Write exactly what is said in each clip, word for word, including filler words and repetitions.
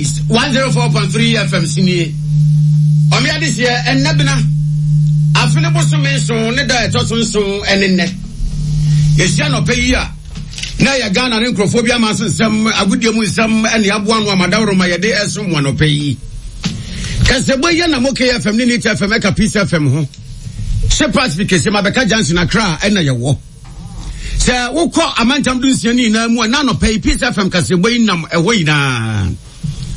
Peace one zero four point three F M sinie. Ɔmo adehyɛ ɛnɛ bena. Afe ne bosome nson ne da ɛtɔ so nson ɛne nnɛ. Yɛhyia nɔpɛ yi a na yɛ Ghana ne nkurɔfoɔ bi ama so nsɛm agodie mu nsɛm ɛne aboa no amadaworo ma yɛde ɛso mu anɔpɛ yi. Kɛsɛbɔ yɛ na mo K F M ne Neat F M ɛka Peace F M ho. Hyɛ Pacific kɛse ma bɛka Junction Accra ɛna yɛwɔ. Sɛ wokɔ amantam du nsia ne nyinaa mu a na anɔpɛ yi Peace F M kɛsɛbɔ yi nam ɛhɔ nyinaa.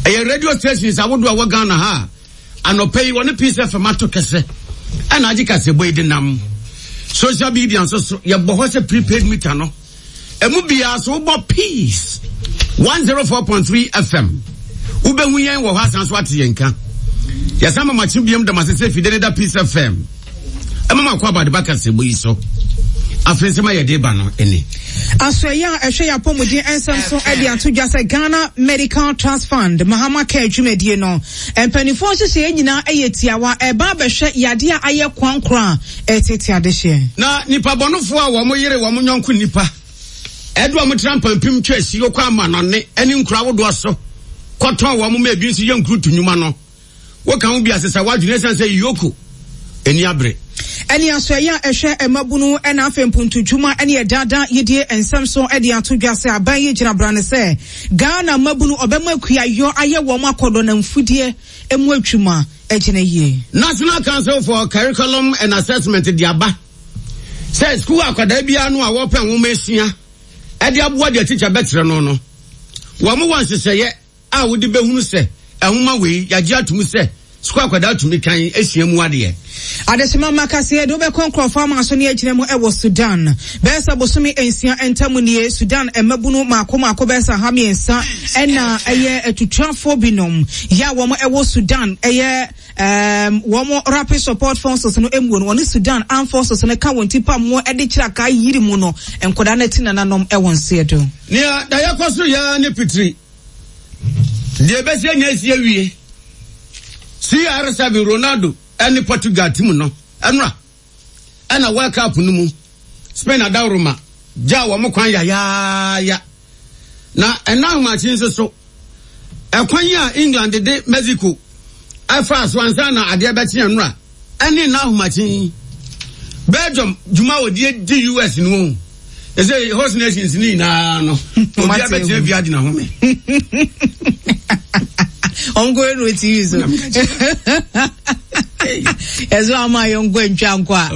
Ɛyɛ radio stations ahodoɔ a wɔ Ghana ha. Anɔpɛ yi wɔne Peace F M ato kɛsɛ. Ɛna agye kɛsɛbɔ yi de nam. Social media nso so yɛbɔ hɔ sɛ prepaid meter no. Emu biara so wobɔ Peace one zero four point three F M. Wobɛhu yɛn wɔ hɔ asan so ate yɛn ka. Yɛsan ma makye biam dam asese fide ne da Peace F M. Ɛma makɔ abade ba kɛsɛbɔ yi so. Afei nsɛm a yɛde ba no ɛne. Asoɛyɛ a ɛhwɛ yɛ apɔmuden nsɛm so ɛde ato dwa sɛ Ghana Medical Trust Fund Mahama Care dwumadie no. Mpanimfoɔ nhyehyɛeɛ nyinaa ɛyɛ tiawa ɛba abɛhwɛ yadeɛ a ayɛ kwankora a ɛtete adehyeɛ. Na nipa bɔnofoɔ a wɔn yere wɔn nyɔnko nipa ɛde wɔn tena mpampim twɛ si okɔ ama nɔne ɛne nkura ahodoɔ so kɔtɔn wɔn ma ebi nso yɛ nkurutu nnwuma no. Wɔka ho bi asesa wadwene ɛsiane sɛ yoko ani abere. Ɛne asoɛyɛ a ɛhwɛ mmabunu ɛna afei mpuntudwuma ɛne ɛdada yidie nsɛm so ɛde ato dwa sɛ aban yi gyina brane sɛ Ghana mmabunu ɔbɛma akuayɔ ayɛ wɔn akɔdɔ na mfudie emu adwuma ɛgyina yie. National Council for Curriculum and Assessment de aba sɛ sukuu akwadaa biara no a wɔpɛ nwoma esua ɛde aboa deɛ tikya bɛkyerɛ no no wɔn wɔ nhyehyɛeɛ a wɔde bɛhunu sɛ ɛnwoma wei yagye atum sɛ sukuu akwadaa tumi kan esua mu adeɛ. Adesima makaseɛ de wobɛkɔ nkurɔfoɔ ama so ne agyina mu ɛwɔ Sudan. Bɛyɛ bosome nsia ntam nie Sudan mmabunu maako maako bɛyɛ ha mmiɛnsa ɛna ɛyɛ atutuafoɔ binom yɛ a wɔn ɛwɔ Sudan ɛyɛ um wɔn rapid support forces no emu no wɔne Sudan armed forces no ka wɔn ti pam wɔ ɛde kyerɛ aka yiri mu no nkɔdaa no ti nananom ɛwɔ nseɛ do. Nea dayɛ kɔ so yɛ ne pitiri deɛ bɛsi anya esi awie C R seven Ronaldo ɛne Portugal team no ɛnora ɛna World Cup no mu Spain adawroma gya wɔn kwan yayaaya na ɛna ahomakye nso so ɛkwan yi a England de Mexico ɛfa so ansa na adeɛ bɛkye ɛnora ɛne na ahomakye Belgium dwuma wɔ die di U S no ɛsɛ host nations ni nyinaa no obi abɛkyerɛ bi agyina ho me Ongo no T V so. Ezo ama yongo ntwa nkwa.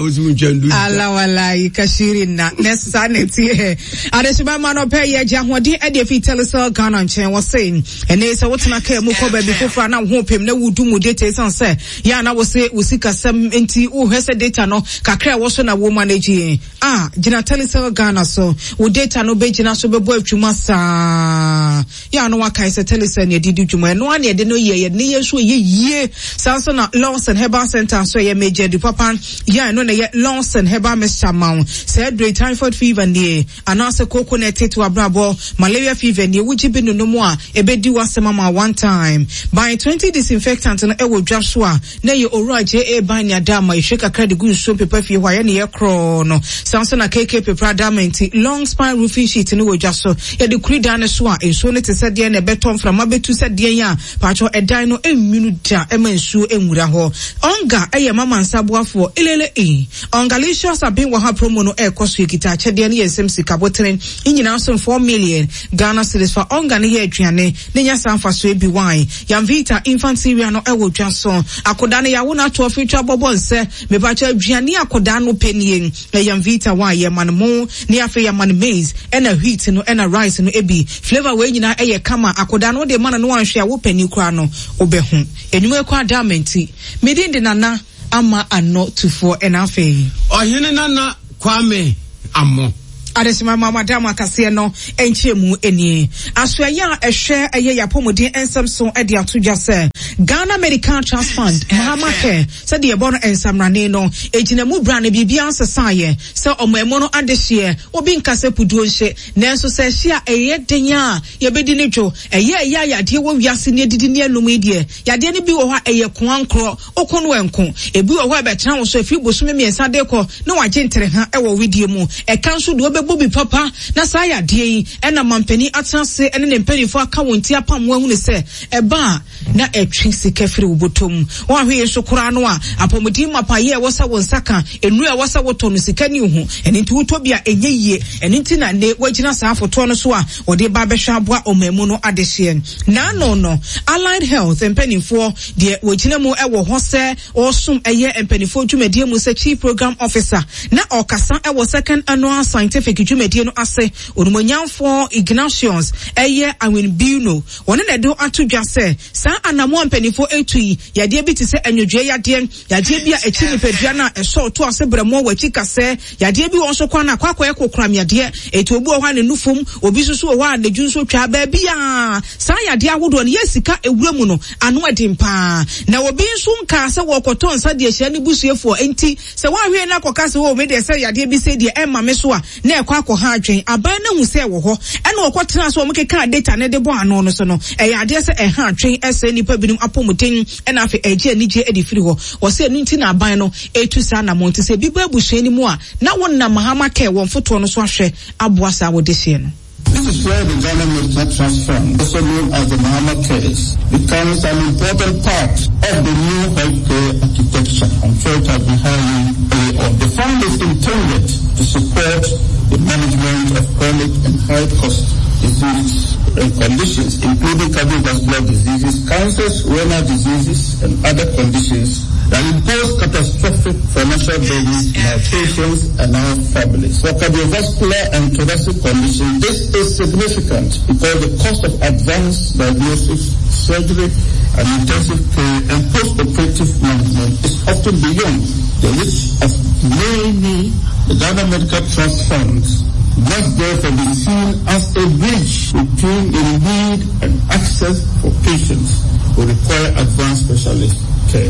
Ala wala ikashiri na nesa neti. Adesima ma no pe ye gya hoden e de fi Telecel Ghana nchen wo se. Ene se wotena ka mu kɔ ba bi fofra na wo pem na wudu mu data san se ya na wo se wo sikasɛm nti wo hwɛ data no kakra wo so na wo manage. Ah, gina Telecel Ghana so wo data no be gina so bebo atwuma saa. Ya no wakai se Telecel ne didi dwuma no ane de no ye ye ne ye so ye yie. Sanso na Lawson Herbal Center so ye major du papa ya no na ye Lawson Herbal Mixture ma se dre typhoid fever nie anase coconut tetu abrabo malaria fever nie wuji bi no no mu a ebedi wasema ma one time by twenty disinfectant no e wo dwa so a na ye owura J A ban ya da ma ehwe kakra de gu nsuo pepa fie hɔ ye ne ye kro no sanso na K K pepa da ma nti long spine roofing sheet no wo dwa so ye de kuri dan so a nsuo no te sɛ deɛ na ɛbɛtɔ mframa bɛtu sɛ deɛ ya pacho ɛdan no enwunu da ɛma nsuo enwura hɔ onga ɛyɛ mama nsaboafoɔ elele e ongalicious abin wɔ ha promo no ɛkɔ so ekita akyɛdeɛ no yɛ nsɛm sika botene nyinaa so four million Ghana cedis fa onga ne yɛ aduane ne nya sanfa so ebi wine Yamvita infant cereal no ɛwɔ dwa so akoda no yawo na to afitwa bɔbɔ nsɛ me pacho aduane akoda no penie Yamvita wine yɛ man mo ne afi yɛ man maize ɛna wheat no ɛna rice no ebi flavor we nyinaa ɛyɛ kama akoda no de man no anhwe a wo pani kura no obehu enwuma kwa damenti medin de nana ama ano tufo ena afei ohene nana Kwame Amo Adesima mama dama kase no enche mu enie asoɛyɛ a ehwɛ eye yapomuden ensɛm so e de ato dwa sɛ Ghana Medical Trust Fund Mahama Care sɛ de yɛbɔ no ensamrane no egina mu bra na bibia nsesaeɛ sɛ ɔmo no adehye obi nkase puduo nhye nanso sɛ hye a eye den a yɛbɛdi ne dwo eye eye yadeɛ wɔ wiase ne didi ne anum yi deɛ yadeɛ ne bi wɔ hɔ a eye koankrɔ okonu enko ebi wɔ hɔ a bɛtena wo so afiri bosome mmiɛnsa de kɔ na wagye ntere ha ɛwɔ widie mu ɛka nso de Ɛbɛbɔ bi papa na saa yadeɛ yi ɛna mampanin atena ase ɛne ne mpanimfoɔ aka wɔn ti apam wɔn ahunu sɛ ɛba a na ɛtwe sika firi wo bɔtɔm. Wɔn ahwɛ yɛn so koraa no a apɔmuden mapayɛ a ɛwɔ sɛ wo nsa ka nnuro a ɛwɔ sɛ wotɔ no sika ne ho ɛno nti wotɔ bi a ɛnyɛ yie. Ɛno nti na ne wagyina saa afotoɔ no so a wɔde ba bɛhwɛ aboa ɔman mu no adehyeɛ. N'ano no Allied Health mpanimfoɔ deɛ wɔgyina mu ɛwɔ hɔ sɛ ɔsom ɛyɛ mpanimfoɔ dwumadie mu sɛ Chief Program Officer na ɔkasa ɛwɔ second annual scientific dwumadie no ase, onumonyamfoɔ Ignatius ɛyɛ Awinbino, wɔne na ɛde ato dwa sɛ saa anamoa mpanimfoɔ etu yi yadeɛ bi te sɛ anwodwoɛ yadeɛ, yadeɛ bi a ɛkyi nipadua no a ɛsɔ to ase brɛmoɔ wɔ akyi kasɛ, yadeɛ bi wɔ nso kwan na akɔ akɔyɛ kokoram yadeɛ, eti obi wɔ hɔ a ne nufom, obi nso so wɔ hɔ a ne dwu nso twa baabi a saa yadeɛ ahodoɔ no yɛ sika ewura mu no ano ɛden paa. Na obi nso nkaa sɛ wɔkɔtɔ nsa deɛ hyɛ ne busuafoɔ nti sɛ wɔahwɛ na akɔka sɛ wɔ me deɛ sɛ yadeɛ bi sɛ deɛ ɛma me so a na ɛkɔ akɔha adwen aban no hu sɛ wɔ hɔ ɛna wɔkɔtena so wɔn keka data ne de bɔ ano no so no ɛyɛ adeɛ sɛ ɛha adwen ɛsɛ nipa binom apɔmuden ɛna afei ɛgye anigye ɛde firi hɔ. Wɔsɛ ɛno nti na aban no etu saa na mo nti sɛ ebi bɔ abusua no mu a na wɔn nam Mahama kɛ wɔn fotoɔ no so ahwɛ aboa saa wɔde hyɛ no. This is where the Ghana Medical Trust Fund, also known as the Mahama Cares, becomes an important part of the new healthcare architecture. I'm sure it has been highly early on. The fund is intended to support the management of chronic and high-cost diseases and conditions, including cardiovascular diseases, cancers, renal diseases, and other conditions that impose catastrophic financial burdens on our patients and our families. For cardiovascular and thoracic conditions, this is significant because the cost of advanced diagnosis, surgery, and intensive care and post-operative management is often beyond the reach of many. The Ghana Medical Trust Funds must therefore be seen as a bridge between the need and access for patients who require advanced specialist care.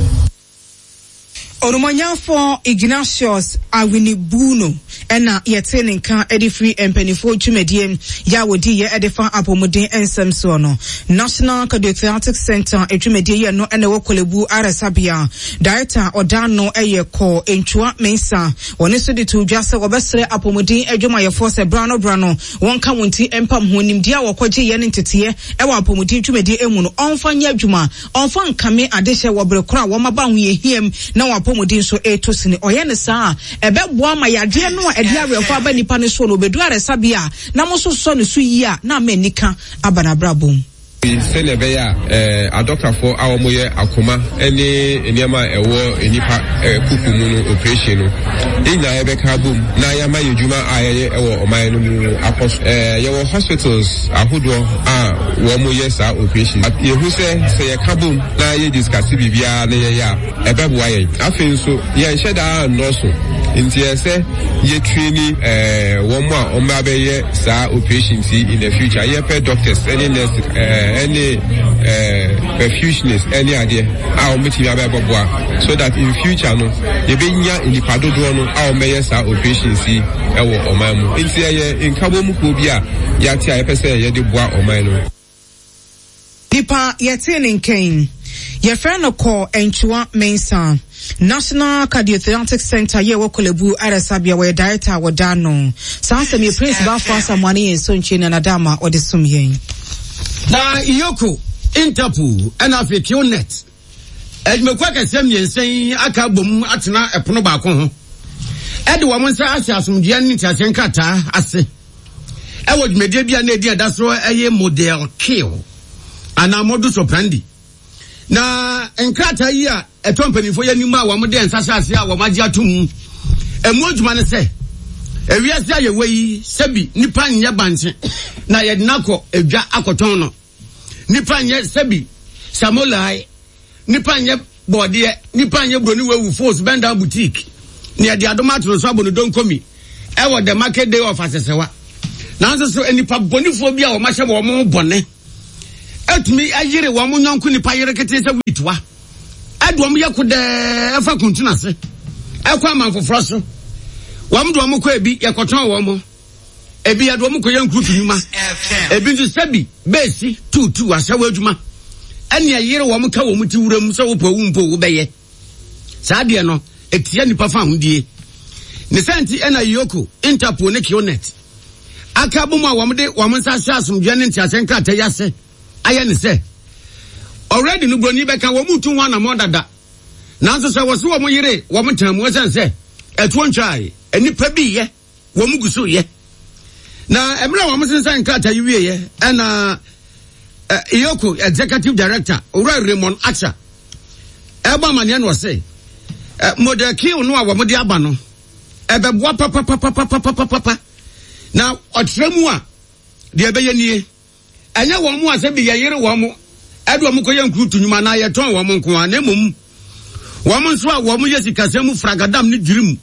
Onumonyamfoɔ Ignatius Awinibuno ɛna yɛte ne nka ɛde firi mpanimfoɔ dwumadie yɛ a wɔdi yɛ ɛde fa apɔmuden nsɛm soɔ no. National Cardiothoracic Center dwumadie yɛ no ɛna ɛwɔ Korle-Bu Ayaresabea. Director ɔda no ɛyɛ kɔ Ntua Mensa. Wɔne nso de to dwa sɛ wɔbɛsrɛ apɔmuden adwumayɛfoɔ sɛ bra no bra no wɔnka wɔn ti mpam ho nimdeɛ a wɔkɔgye yɛ ne nteteɛ ɛwɔ apɔmuden dwumadie emu no ɔmfa nyɛ adwuma, ɔmfa nkame adehyɛ wɔ bere koro a wɔn aba ahohiahiam na wɔn apɔmuden nso ɛreto sini. Ɔyɛ ne saa a ɛbɛboa ma yadeɛ no a ɛde awerɛfo aba nipa no so no obedu ayaresabea na mo nso sɔ ne so yie a na ama anika aba n'abrabɔ mu. Sɛnea ɛbɛyɛ a adɔkafoɔ a wɔyɛ akoma ne nneɛma a ɛwɔ nipa kuku mu no operation no yɛn nyinaa yɛbɛka abom na yɛama yɛ adwuma a yɛyɛ ɛwɔ ɔman no mu akɔ so. Yɛwɔ hospitals ahodoɔ a wɔn yɛ saa operation. Yɛhu sɛ sɛ yɛka bom na yɛ discuss biribiara na yɛyɛ a ɛbɛboa yɛn. Afei nso yɛnhyɛ daa nnɔɔso nti yɛ sɛ yɛ train wɔn a wɔn abɛyɛ saa operations yi in the future. Yɛpɛ doctors ɛne nurses ɛne perfusionist ɛne adeɛ a wɔn bɛtumi abɛbɔboa so that in future no yɛbɛnya nipa dodoɔ no a wɔn bɛyɛ saa operations yi ɛwɔ ɔman mu. Nti ɛyɛ nkabom kuo bi a yɛate a yɛpɛ sɛ yɛde boa ɔman no. Nipa yɛte ne nkɛn yɛfrɛ no kɔ Ntua Mensa, National Cardiothoracic Center yɛ wɔ Korle-Bu Ayaresabea, wɔyɛ director a wɔda no. Saa asɛm yi Prince Bafo Asamoah ne yɛn so nkyi na nadama ɔde som yɛn. Na EOCO, Interpol ɛna afei QNet adwumakuo akɛseɛ mmiɛnsa yi aka abom atena ɛpono baako ho ɛde wɔn nsa ahyɛ asomdwoeɛ ne nteaseɛ nkrataa ase ɛwɔ dwumadie bi a na edi ɛda so ɛyɛ model kill anaa modus operandi. Na nkrataa yi a ɛtɔ mpanimfoɔ yɛ anim a wɔn de nsa hyɛ ase a wɔn agye ato mu emu adwuma ne sɛ ewiase a yɛwɔ yi sɛbi nipa nyɛ bankye na yɛde n'akɔ edwa akɔtɔn no, nipa nyɛ sɛbi samolai, nipa nyɛ bɔɔdeɛ, nipa nyɛ buroni wewu force bɛnda boutique na yɛde adom ato no so abɔ ne donkomi ɛwɔ the market day of Asɛsɛwa. Nanso so nipa bɔnifoɔ bi a wɔn ahyɛ wɔn bɔne etumi ayere wɔn nyɔnko nipa yere kete sɛ witwa ɛde wɔn yɛ kodɛɛ ɛfa kuntun ase ɛkɔ aman foforɔ so. Wɔn de wɔn kɔ ebi yɛkɔtɔn wɔn, ebi yɛde wɔn kɔ yɛ nkurutu nnwuma, ebi nso sɛbi beesi tuutu ahyɛwɔ adwuma ɛne ɛyere wɔn ka wɔn ti wuram sɛ wopɔ owu mpo wobɛyɛ saa deɛ no etia nipa fa ahodie ne sɛ nti ɛna EOCO, Interpol ne QNet Aka bom a wɔn de wɔn nsa ahyɛ asomdwoeɛ ne nteaseɛ nkrataa yi ase ayɛ ne sɛ already no buroni bɛka wɔn mu tu ho anammɔn dada, nanso sɛ wɔso wɔn yere wɔn tan mu ɛsɛn sɛ ɛtuo ntwae nnipa bi yɛ wɔn gu so yɛ. Na mmerɛ a wɔn sensan nkrataa yi wieɛ ɛna EOCO executive director Owura Raymond Archer ɛbɔ amaneɛ no ɔse model Q no a wɔn de aba no ɛbɛboa papapapapapapa. Na ɔkyerɛ mu a deɛ ɛbɛyɛ nie, ɛnyɛ wɔn mu a sɛ bi yɛyere wɔn mo ɛde wɔn kɔyɛ nkurutu nnwuma na yɛtɔn wɔn nko a, na mmom wɔn nso a wɔn yɛ sikasɛm mu fragadam ne dwirim,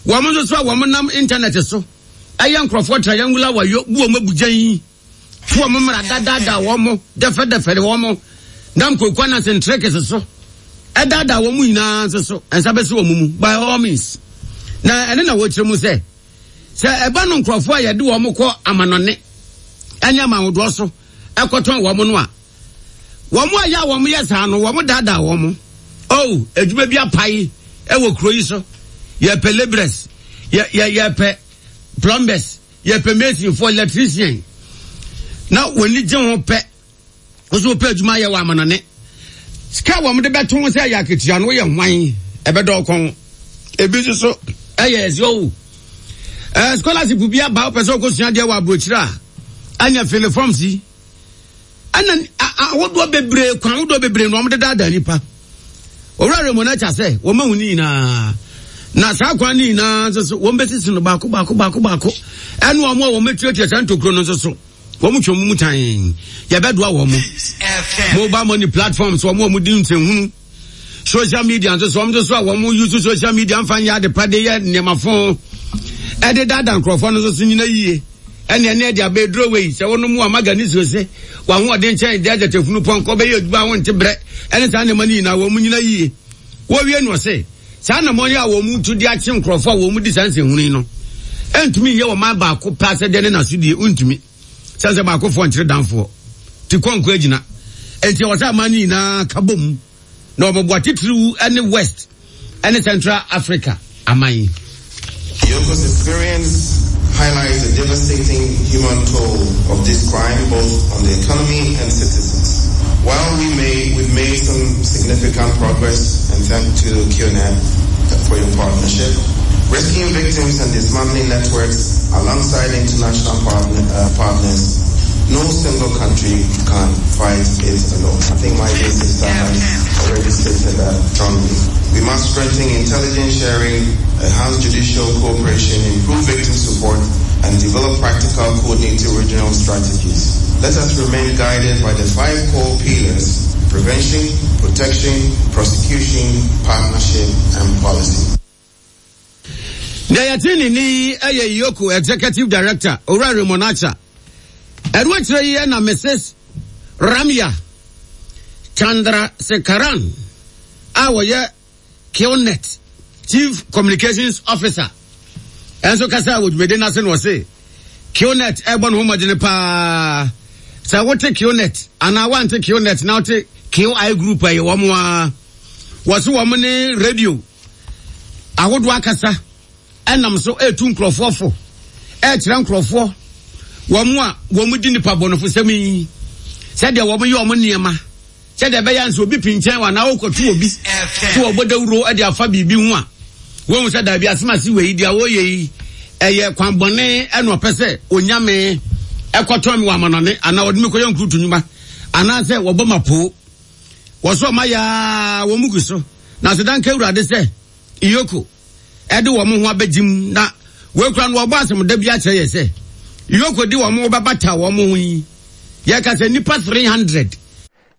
wɔn nso so a wɔn nam internet so ɛyɛ nkurɔfoɔ triangular wayo bu wɔn abugyan yi to wɔn mmara dadaada wɔn mo dɛfɛdɛfɛ wɔn mo nam kooko anase ntrɛkɛse so ɛdaadaa wɔn mu nyinaa nso so nsa bɛsi wɔn mu by all means. Na ɛne na wɔkyerɛ mu sɛ sɛ ɛba no nkurɔfoɔ a yɛde wɔn kɔ amanɔne ɛne amanhodoɔ so ɛkɔtɔn wɔn no a, wɔn a yɛ a wɔn yɛ saa no wɔn daadaa wɔn. Oh, adwuma bi apae ɛwɔ kuro yi so, yɛpɛ labourers, yɛ yɛ yɛpɛ plumbers, yɛpɛ masonfoɔ, electrician, na wɔn ani gye ho pɛ nso wɔpɛ adwuma yɛ wɔ amanɔne. Sika wɔn de bɛto ho sɛ ɛyɛ akatua no yɛ hwan ɛbɛdɔ kɔn. Ebi nso so ɛyɛ ɛsɛ owu ɛɛ scholarship bi aba wopɛ sɛ ɔkɔsua adeɛ wɔ aburokyire a ɛnyɛ fill forms yi ɛna ahodoɔ bebree kwan ahodoɔ bebree na wɔn de daadaa nipa. Owura Raymond Archer sɛ wɔn ahu ne nyinaa, na saa kwan ne nyinaa nso so wɔn bɛsisi no baako baako baako baako, ɛne wɔn a wɔn atuatua saa ntokuro no nso so wɔn twɛn mu tan yɛbɛdoa wɔn. Mobile money platforms wɔn a wɔn di nsɛnhunu, social media nso so wɔn nso so a wɔn use social media nfa nyɛ adepa de yɛ nneɛma fo ɛde daadaa nkurɔfoɔ no nso so nyina yie. Ɛne ɛne ɛde abɛduro wei sɛ wɔn mu a maga ne suo se wɔn ahoɔden nkyɛn de agyata funu pɔnkɔ bɛyɛ adwuma a wɔnte brɛ ɛne saa nneɛma no nyinaa wɔn mu nyina yie. Wɔwie no ɔse saa nnamɔ yi a wɔn mu tu de akye nkurɔfoɔ a wɔn mu di saa nsɛnhunu yi no ɛntumi nyɛ wɔn man baako pɛ asɛdeɛ ne n'asodie ntumi sɛ sɛ baakofoɔ nkyerɛ danfoɔ ti kɔnkɔ agyina. Enti ɛwɔ sɛ aman no nyinaa ka bom na wɔbɛboa titiriw ne West ne Central Africa aman. EOCO's experience highlights the devastating human toll of this crime both on the economy and citizens. While we may, we've made some significant progress, and thank to QNet for your partnership, rescuing victims and dismantling networks alongside international partner, uh, partners, no single country can fight it alone. I think my dear sister has already stated that strongly. We must strengthen intelligence sharing, enhance judicial cooperation, improve victim support, and develop practical coordinated regional strategies. Let us remain guided by the five core pillars: prevention, protection, prosecution, partnership, and policy. Deɛ yɛte ne ni ɛyɛ EOCO executive director Owura Raymond Archer. Ɛno akyerɛ yi na Missus Ramya Chandrasekaran a wɔyɛ QNet Chief Communications Officer ɛnso kasa wɔ dwumadi n'ase na ɔse QNet ɛbɔ ne ho mmɔdene paa. Sɛ wote QNet anaa wante QNet na wote Q I Group ɛyɛ wɔn a wɔse wɔn ne radio ahodoɔ akasa ɛnam so ɛretu nkurɔfoɔ fo ɛrekyerɛ nkurɔfoɔ wɔn a wɔn di nipa bɔnɔfosɛm yi sɛdeɛ wɔn yɛ wɔn nneɛma sɛdeɛ ɛbɛyɛ nso obi pinkyɛn wa na ɔkɔto obi so wɔbɔ dawuro ɛde afa biribi ho a wɔn sɛ daabi asemase wɔ yi deɛ wɔyɛ yi ɛyɛ kwan bɔne ɛna ɔpɛ sɛ onyame ɛkɔtɔn mi wɔ amanɔne anaa ɔde mi kɔyɛ nkurutu nnwuma anaasɛ wɔbɔ ma poo wɔso ɔma yaa wɔn mu gu so na asedanka Awurade sɛ EOCO ɛde wɔn ho abɛgyim na wɔakura no wɔbɔ asɛm da bi akyerɛ yɛ sɛ EOCO de wɔn bɛbata wɔn ho yi yɛka sɛ nipa three hundred.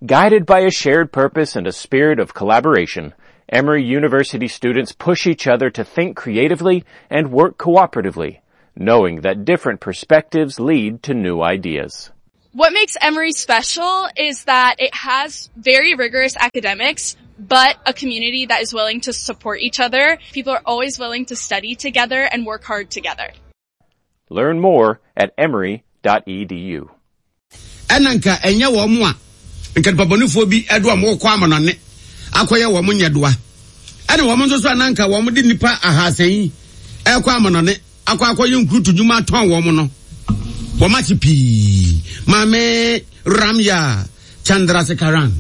Guided by a shared purpose and a spirit of collaboration, Emory University students push each other to think creatively and work cooperatively, knowing that different perspectives lead to new ideas. What makes Emory special is that it has very rigorous academics, but a community that is willing to support each other. People are always willing to study together and work hard together. Learn more at emory dot e d u. Ɛna nka ɛnyɛ wɔn mo a nka nipabɔnefoɔ bi ɛde wɔn kɔ amanɔne akɔyɛ wɔn nyɛdoa. Ɛna wɔn nso so a na nka wɔn de nipa ahasa yi ɛkɔ amanɔne akɔ akɔyɛ nkurutu dwuma atɔn wɔn no. Wɔn pii. Maame Ramya Chandrasekaran.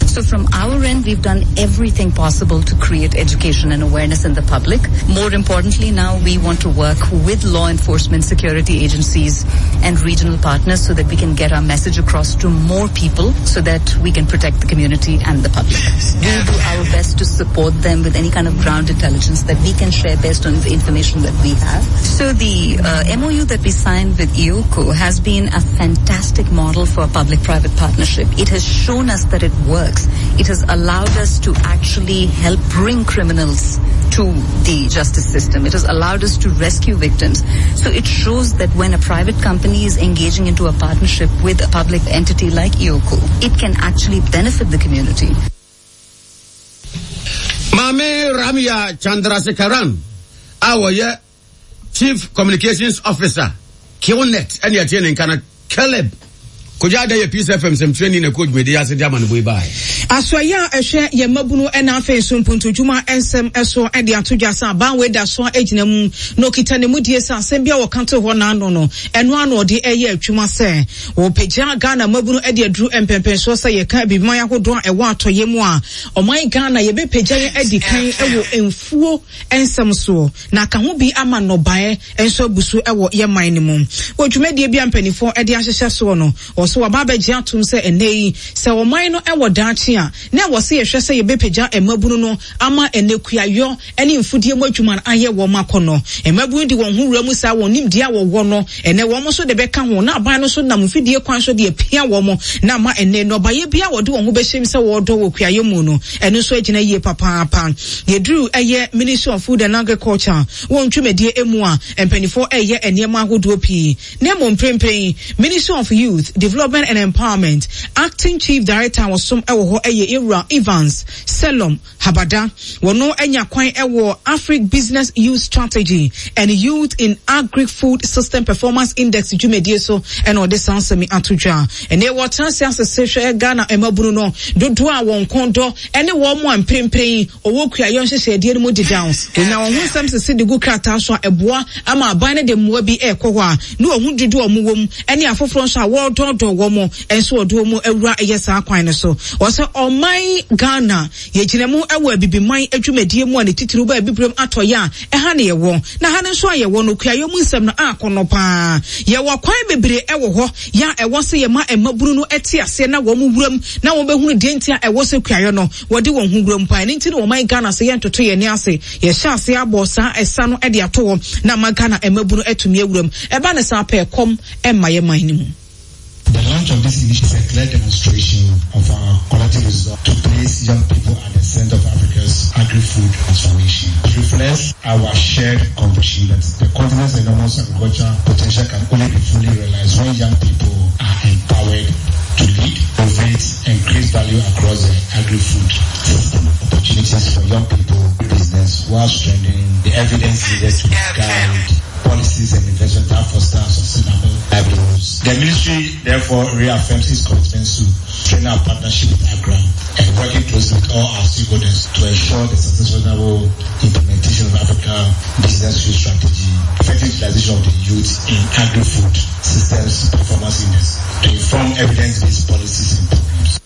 So from our end, we've done everything possible to create education and awareness in the public. More importantly, now we want to work with law enforcement, security agencies, and regional partners so that we can get our message across to more people so that we can protect the community and the public. We do our best to support them with any kind of ground intelligence that we can share based on the information that we have. So the uh, M O U that we signed with EOCO has been a fantastic model for a public-private partnership. It has shown us that it works. It has allowed us to actually help bring criminals to the justice system. It has allowed us to rescue victims. So it shows that when a private company is engaging into a partnership with a public entity like EOCO, it can actually benefit the community. Maame Ramya Chandrasekaran a wɔyɛ Chief Communications Officer, Killnet, ɛne ɛteɛ ne nka no. Caleb Kogya Ada yɛ Peace F M nsɛmtwerɛni na ɛkɔ dwumadi ase de ama no boi baeɛ. Asoɛyɛ a ɛhwɛ yɛn mmabunu na afei nso mpuntudwuma nsɛm so de ato dwa sɛ aban wei da so gyina mu na okita ne mudie sɛ asɛm bi a wɔka too hɔ n'ano no, ɛno ara na ɔde reyɛ adwuma sɛ wɔpagya Ghana mmabunu de aduru mpɛnpɛnsoɔ. Sɛ yɛka abibiman ahodoɔ a ɛwɔ atɔeɛ mu a, ɔman Ghana yɛbɛpagya yɛn adi kan wɔ mfuo nsɛm soɔ na aka ho bi ama nnɔbaeɛ nso abu so wɔ yɛn man no mu. Wɔ dwumadie bi a mpanimfoɔ de ahyehyɛ soɔ no, wɔso wɔaba abɛgye atom sɛ ɛnnɛ yi sɛ ɔman no wɔ daakye a, na ɛwɔ sɛ yɛhwɛ sɛ yɛbɛpagya mmabunu no ama ɛnɛ kuayɔ ne mfudie mu adwuma no ayɛ wɔn akɔnnɔ. Mmabunu de wɔn ho wura mu saa, wɔn nimdeɛ a wɔwɔ no, ɛnɛ wɔn nso de bɛka ho na aban no nso nam mfidie kwan so de apia wɔn na ama ɛnɛ nnɔbaeɛ bi a wɔde wɔn ho bɛhyɛm sɛ wɔredɔ wɔ kuayɔ mu no, ɛno nso agyina yie papaapa. Yɛduru ɛyɛ Ministry of Food and Agriculture wɔn dwumadie mu a, mpanimfoɔ ɛreyɛ nneɛma ahodoɔ pii, na mmom mprempren Ministry of Youth Development and Empowerment Acting Chief Director a wɔsom wɔ hɔ ɛyɛ Ewura Evans Selom Habada. Wɔno anya kwan ɛwɔ Afric Business Youth Strategy and Youth in Agri-Food System Performance Index dwumadie so ɛna ɔde saa nsɛm ato dwa. Ɛnɛ wɔtena ase asese hwɛ Ghana mmabunu no dodoɔ a wɔn kɔn dɔ ɛne wɔn mu a mprempren ɔwɔ kuayɔ nhyehyɛedeɛ no mu dedaw. Wɔnya wɔn ho nsɛm sese de gu krataa so a, ɛboa ama aban no de mmoa bi ɛrekɔ hɔ a ne wɔn ho dodoɔ a wɔn wɔ mu ɛne afoforɔ nso a wɔredɔɔdɔɔ wɔn nso wɔde wɔn awura ɛyɛ saa kwan no so. Wɔsɛ ɔman Ghana yɛgyina mu ɛwɔ abibiman adwumadie mu a ne titiriw ba abibirem atɔyɛ a ɛha ne yɛwɔ na ha no nso a yɛwɔ no, kuayɔ mu nsɛm no akɔnɔ paa. Yɛwɔ kwan bebree ɛwɔ hɔ yɛ a ɛwɔ sɛ yɛma mmabunu no ɛte aseɛ na wɔn wuram na wɔn bɛhunu deɛ nti a ɛwɔ sɛ kuayɔ no wɔde wɔn ho wuram paa. Ɛno nti na wɔman Ghana sɛ yɛntoto yɛn ani ase, yɛhyɛ ase abɔ saa ɛsa no ɛde ato hɔ na ama Ghana mmabunu atumi awuram. Ɛba ne saa pɛ, kɔm ɛmma yɛ man no mu. The launch of this initiative is a clear demonstration of our collective resolve to place young people at the center of Africa's agri-food transformation. It reflects our shared conviction that the continent's enormous agricultural potential can only be fully realized when young people are empowered to lead, innovate, and create value across the agri-food system. Opportunities for young people business while strengthening the evidence needed to guide policies and investment that foster sustainable livelihoods. The ministry therefore reaffirms its commitment to strengthen our partnership with AGRA and working closely with all our stakeholders to ensure the successful implementation of Africa Business Youth Strategy, effective utilization of the youth in agri-food systems performance index to inform evidence-based policies and programs.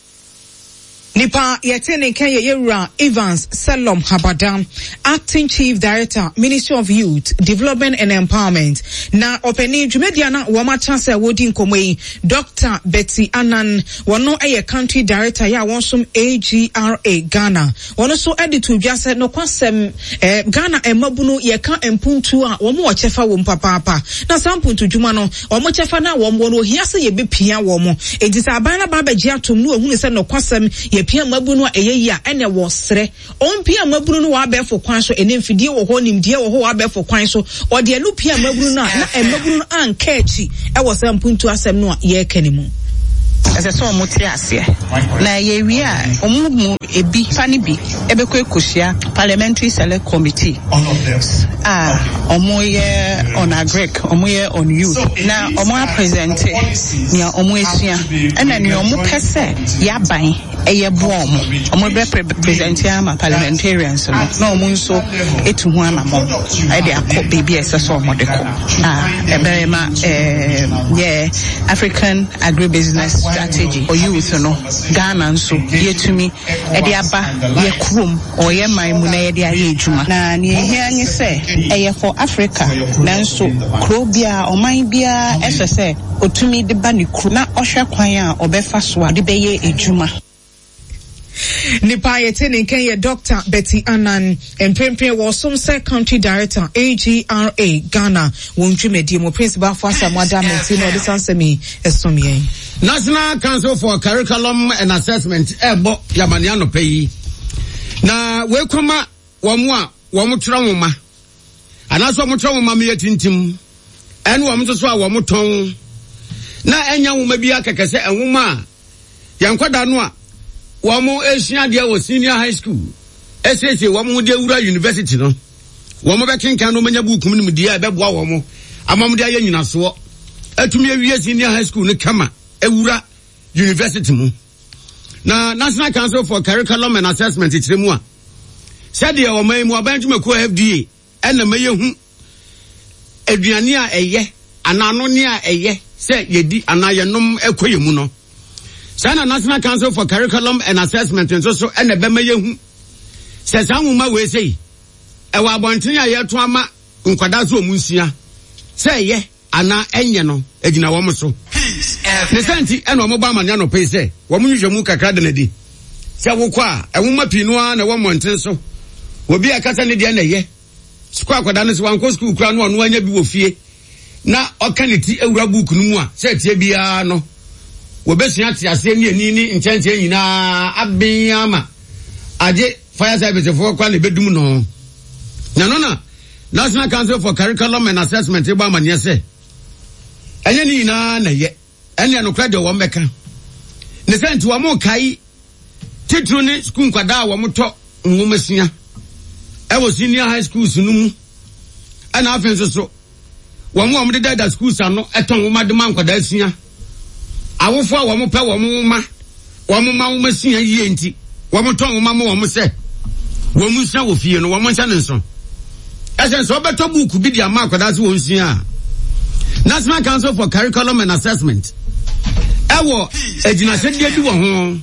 Nipa yɛte ne nka yɛ yɛwura Evans Selom Habada, Acting Chief Director, Ministry of Youth Development and Empowerment. Na ɔpanin dwumadie na wɔn akyerɛ sɛ wɔdi nkɔmɔ yi, Doctor Betty Anan, wɔn yɛ Country Director yɛ a wɔn som A G R A Ghana. Wɔn nso de to dwa sɛ nokwasɛm ɛɛ Ghana mmabunu, yɛka mpuntu a, wɔn wɔ kyɛfa wɔ mu papaapa, na saa mpuntu dwuma no, wɔn kyɛfa no a wɔn wɔ no, ohia sɛ yɛbɛpia wɔn. Eti sɛ aban no aba abɛgye atom no, ohunu sɛ nokwasɛm yɛpia mmabunu a ɛyɛ yi a, ɛna wɔ serɛ ɔmpia mmabunu no wɔ abɛɛfo kwan so. Ɛne mfidie wɔ hɔ, nimdeɛ wɔ hɔ wɔ abɛɛfo kwan so, ɔde ɛno pia mmabunu no a, na mmabunu no anka akyi ɛwɔ sɛ mpuntu asɛm no a yɛreka ne mu. Ɛsɛ sɛ ɔmo te aseɛ na yɛwie a, ɔmo mu ebi fa ne bi ɛbɛkɔ ekohyia Parliamentary Select Committee a ɔmo yɛ on agric, ɔmo yɛ on youth, na ɔmo apresent nea ɔmo esua ɛna nea ɔmo pɛ sɛ yaban ɛyɛ boa ɔmo. Ɔmo bɛ present ama parliamentarians no na ɔmo nso etu ho anamɔ ɛde akɔ beebi a ɛsɛ sɛ ɔmo de kɔ a ɛbɛyɛ ma ɛɛ Yeah, African agribusiness strategy for youth no Ghana nso yɛtumi ɛde aba yɛ kurom ɔyɛ man mu na yɛde ayɛ adwuma. Na nea ehia nye sɛ ɛyɛ for Africa nanso kuro biara ɔman biara ɛsɛ sɛ otumi de ba ne kuro na ɔhwɛ kwan a ɔbɛfa so a ɔde bɛyɛ adwuma. Nipa yɛte ne nkan yɛ Doctor Betty Annan, mprempren wɔsom sɛ Country Director A G R A Ghana. Wɔn dwumadie mu Prince Bafo Asamoah Damenti na ɔde sansɛm yi ɛsom yɛn. National Council for Curriculum and Assessment ɛbɔ yamani anɔpɛ yi na wei kɔma wɔn a wɔn twerɛ nwoma anaasɛ wɔn twerɛ nwoma meyɛ tintim, ɛne wɔn nso so a wɔn tɔn na ɛnya nwoma bi akɛkɛ sɛ nwoma a yɛn nkwadaa no a wɔn esua adeɛ wɔ senior high school esiesie wɔn ho de awura university no, wɔn bɛkenkan no, wɔn anya buuku mu nimdeɛ a ɛbɛboa wɔn ama wɔn de ayɛ nyinasoɔ atumi awie senior high school no kama awura university mu. Na National Council for Curriculum and Assessment kyerɛ mu a, sɛdeɛ ɔman yi mu aban dwumakuo F D A ɛna ma yɛhu aduane a ɛyɛ anaa anonne a ɛyɛ sɛ yɛdi anaa yɛnom ɛkɔ yɛ mu no, saa na National Council for Curriculum and Assessment nso so ɛna ɛbɛma yɛhu sɛ saa nwoma wei sei ɛwɔ abɔnten a yɛto ama nkwadaa so ɔmu nsua sɛ ɛyɛ anaa ɛnyɛ no egyina wɔn so. Ne sɛ nti ɛna wɔn bɔ amane anɔpɛ yi sɛ wɔn nhwehwɛ mu kakra da n'adi sɛ wokɔ a, ɛnwoma pii no ara na ɛwɔ mmɔnten so. Obi a ɛkasa ne deɛ na ɛyɛ sukuu akwadaa no sɛ wankɔ sukuu kura no, ɔno anya bi wɔ fie na ɔka ne ti awura buuku no mu a, sɛ ɛteɛ biara no wɔbɛsua te aseɛ ne ani ne nkyɛnkyɛn nyinaa aben ama agye fire service foɔ kora na ɛbɛdum no. Na no na National Council for Curriculum and Assessment bɔ amanneɛ sɛ ɛnyɛ ne nyinaa na ɛyɛ. Ɛne ɛnokorɛ deɛ wɔn bɛka ne sɛ nti wɔn kae titiri ne sukuu nkwadaa a wɔn tɔ nwoma sua ɛwɔ senior high schools no mu, ɛna afei nso so wɔn a wɔn deda schools ano ɛtɔn nwoma de ma nkwadaa sua, awofo a wɔn pɛ wɔn nwoma, wɔn ma nwoma sua yie nti wɔn tɔn nwoma ma wɔn sɛ wɔn nsua wɔ fie no, wɔn nhyɛ ne nso ɛsɛ sɛ ɔbɛtɔ buuku bi de ama akwadaa sɛ wɔn sua a, National Council for Curriculum and Assessment ɛwɔ agyinahyɛdeɛ bi wɔ ho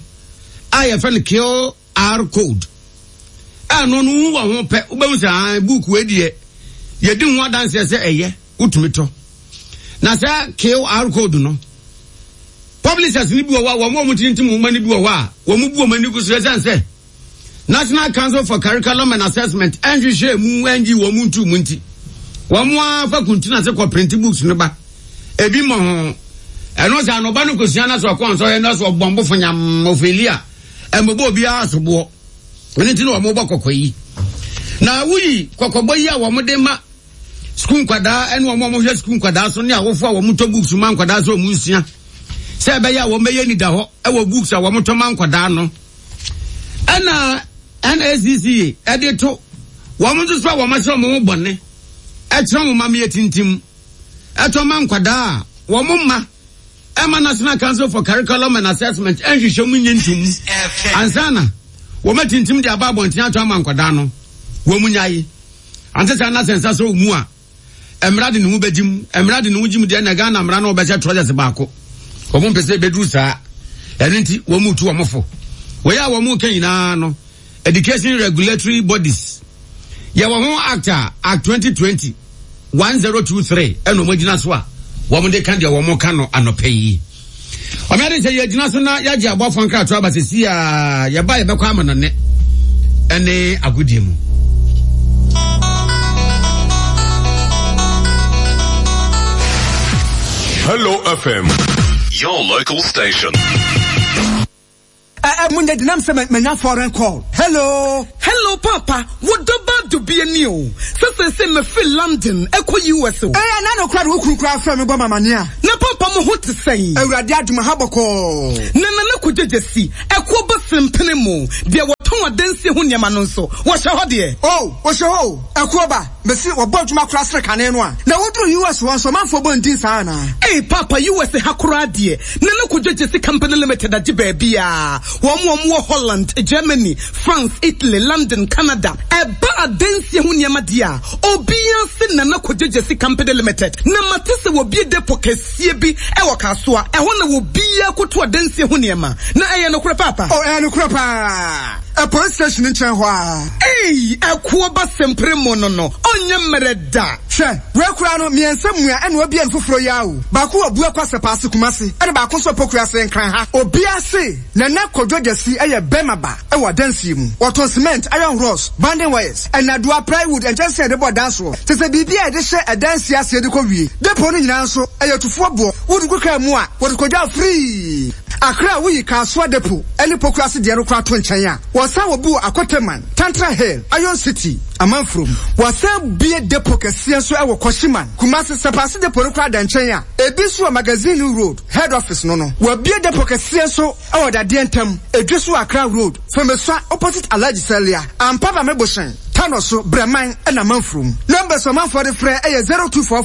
a yɛfrɛ no Q R code a no no hu wɔ ho pɛ, wobɛhu sɛ ah, buuku wei deɛ yɛdi ho adanseɛ sɛ ɛyɛ, wotumi tɔ. Na sɛ Q R code no, publishers ni bi wɔ hɔ a wɔn a wɔn tintim nwoma ni bi wɔ hɔ a wɔn bu wɔn ani gu so, ɛsɛn sɛ National Council for Curriculum and Assessment ɛnhwehwɛ mu ɛngyi wɔn mu ntu mu nti wɔn afa kuntun ase kɔ print books no ba ebi mɔ ho. Ɛno sɛ anɔba no kosua na so ɔkɔ nsɔhwɛ na so ɔbɔ mbofo nyam ofeli a ɛmɔbɔ obiara soboɔ. Ɛno nti na wɔn bɔ kɔkɔ yi na woyi kɔkɔbɔ yi a wɔn de ma sukuu nkwadaa ɛne wɔn a wɔhwɛ sukuu nkwadaa so ne awofo a wɔn tɔ books ma nkwadaa so wɔn nsua sɛ ɛbɛyɛ a wɔn bɛyɛ nida hɔ ɛwɔ books a wɔn tɔ ma nkwadaa no. Ɛna N A C C ɛde to wɔn nso so a wɔn ahyɛ wɔn ho bɔne ɛkyerɛ wɔn ma meyɛ tintim ɛtɔ ma nkwadaa a wɔn mma ɛma National Council for Curriculum and Assessment ɛnhwehwɛ mu nye ntum ansa na wɔn atintim de aba abɔnten ato ama nkwadaa no, wɔn mu nyae ante saa na sɛ nsa sɛ mu a, mmara de ne ho bɛgye mu. Mmara de ne ho gye mu deɛ, na Ghana mmara no wɔbɛhyɛ trɔsɛs baako. Wɔn mpɛ sɛ ebɛduru saa, ɛno nti wɔn mu tu wɔn fo. Wɔyɛ a wɔn ka nyinaa no, education regulatory bodies yɛwɔ ho act a Act twenty twenty one zero two three, ɛna wɔn gyina so a wɔn de ka deɛ wɔn ka no anɔpɛ yi. Ɔmɛ de sɛ yɛgyina so na yɛagye abɔfo nkrato aba sɛsi a yɛba yɛbɛkɔ ama no ne ɛne agodie mu. Hello F M, your local station. Ɛ mu nyɛ dinam sɛ manya foreign call. Hello. Hello papa, wodɔ ba dubie ni o. Sɛ sɛ mefiri London ɛkɔ U S o. Ɛyɛ na no kora de wo kunu kora frɛ me bɔ mamane a. Na papa, mo ho te sɛn? Awurade adom, ha bɔkɔɔ. Na nana kogyegye si ɛkɔ ba sempene mu deɛ wɔtɔn Wɔtɔn adansie ho nneɛma no nso, wɔhyɛ hɔ deɛ? Oh, wɔhyɛ hɔ o. Ɛkoɔ ba, mese wɔbɔ adwuma koraa sene kane no a. Na woduru U S hɔ nso, ɔmanfoɔ bɔ ndin saa anaa? Ei, Paapa, U S ha koraa deɛ, Nana Kojo Gyasi Company Limited agye baabiara. Wɔn a wɔwɔ Holland, Germany, France, Italy, London, Canada. Ɛba adansie ho nneɛma deɛ a, obiara se Nana Kojo Gyasi Company Limited. Na mate sɛ wɔbue depo kɛseɛ bi wɔ Kasoa. Ɛhɔ na obiara kɔto adansie ho nneɛma. Na ɛyɛ nokorɛ, Paapa? Oh, ɛyɛ nokorɛ paa. Ɛ police station nkyɛn hɔ a. Ei, ɛkoɔ ba sempere mu no no, ɔnyɛ mmerɛ da. Hwɛ, wei koraa no, mmiɛnsa mua ɛna wabue no foforɔ yi ara o. Baako wɔ Buakwa Sɛpaase Kumasi, ɛna baako nso wɔ Pokuase Nkran ha. Obiara se Nana Kojo Gyasi yɛ bɛrima ba wɔ adansie mu. Wɔtɔn cement, iron rods, bonding wires, nnadewa, plywood, nkyɛnsee a yɛde bɔ dan soɔ, kyerɛ sɛ biribi a yɛde hyɛ adansie aseɛ de kɔ wie. Depot no nyinaa nso, ɛyɛ tufoɔ boɔ. Wode gu kaa mu a, wɔde kɔgya free. Accra a woyi Kasoa Depot ne Pokuase deɛ no koraa to nkyɛn a, wɔsan wɔ bi wɔ Akoteman, Tantra Hill, Iron City, Amanfurom. Wɔsan bue depot kɛseɛ nso wɔ Kwashiman, Kumasi. Sapase Depot no koraa da nkyɛn a, ebi nso wɔ Magazine Road, Head Office no no. Wɔabue depot kɛseɛ nso wɔ Dadeɛ Ntam, Edweso Accra Road, Fomesua opposite Alhaji Salia, Ampaba Mebohyɛn, Tanoso, Breman ɛna Amanfurom. Numbers a ɔmanfoɔ de frɛ yɛ zero two four